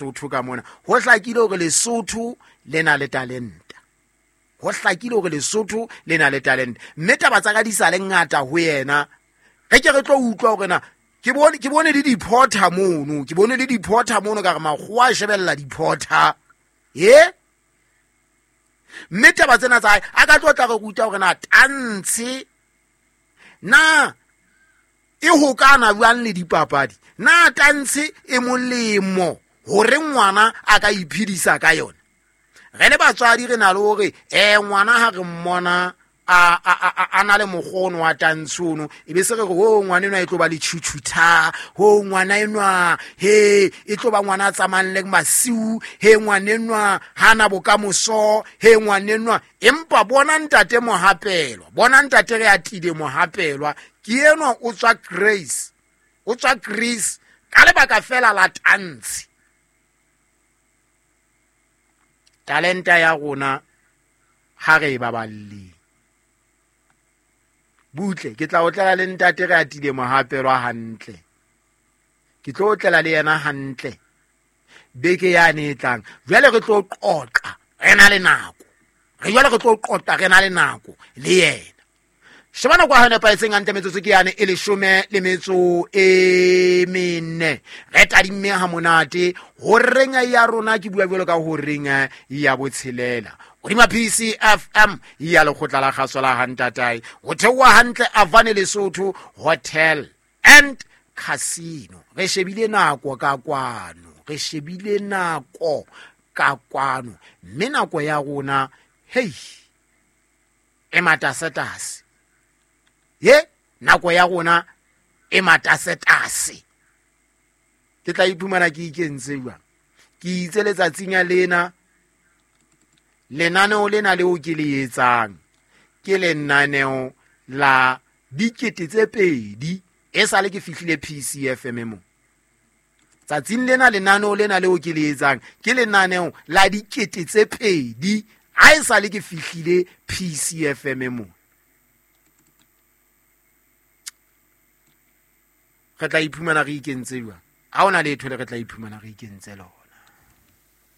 Lesotho ka mona. Ho hlakile hore Lesotho le na le talenta, ho hlakile hore Lesotho le na le talente, mme taba tsa ka di sa le ngata ho yena. Re ke re tlo utlwa hore na ke bone le diphotha mono, ke bone le diphotha mono, ka re makgowa a shebella diphotha e mme taba tsena tsa hae a ka tlo tla re ruta hore na tantshe na e hokana jwang le dipapadi, na tantshe e molemo hore ngwana a ka iphedisa ka yona. Re le batswadi re na le hore ngwana ha re mmona a na le mokgono wa tantshe ono, e be se re re ho ngwana enwa e tlo ba le tjhutjhutha, ho ngwana enwa he e tlo ba ngwana a tsamayang le masiu, he ngwana enwa ha na bokamoso, he ngwana enwa. Empa bona ntate Mohapelwa, bona ntate re atile Mohapelwa, ke enwa o tswa Grace, o tswa Greece ka lebaka fela la tantshe. Talenta ya rona ha re e baballeng butle. Ke tla otlela le ntate re atile Mohapelwa hantle, ke tlo otlela le yena hantle beke yane e tlang. Jwale re tlo qoqa re na le nako, re jwale re tlo qoqa re na le nako le yena. Sheba nako ya nepahetseng hantle, metsotso ke yane e 14, re tadimme ha monate horeng ya rona. Ke bua jwalo ka horeng ya 6 hodima PCFM ya lekgotla la kgaso la Hantatae, ho theoha hantle Avane Lesotho Hotel and Casino. Re shebile nako ka kwano, re shebile nako ka kwano, mme nako ya rona hei e matasetase, ye nako ya rona e matasetase. Ke tla iphumana ke ikentse jwang? Ke itse letsatsing lena, lenaneo lena leo ke le etsang ke lenaneo la 2000 e sale ke fihlile PCFM mo. Tsatsing lena lenaneo lena leo ke le etsang ke lenaneo la 2000 ha e sale ke fihlile PCFM mo. Re tla iphumana re ikentse jwang? Ha hona letho le re tla iphumana re ikentse lona.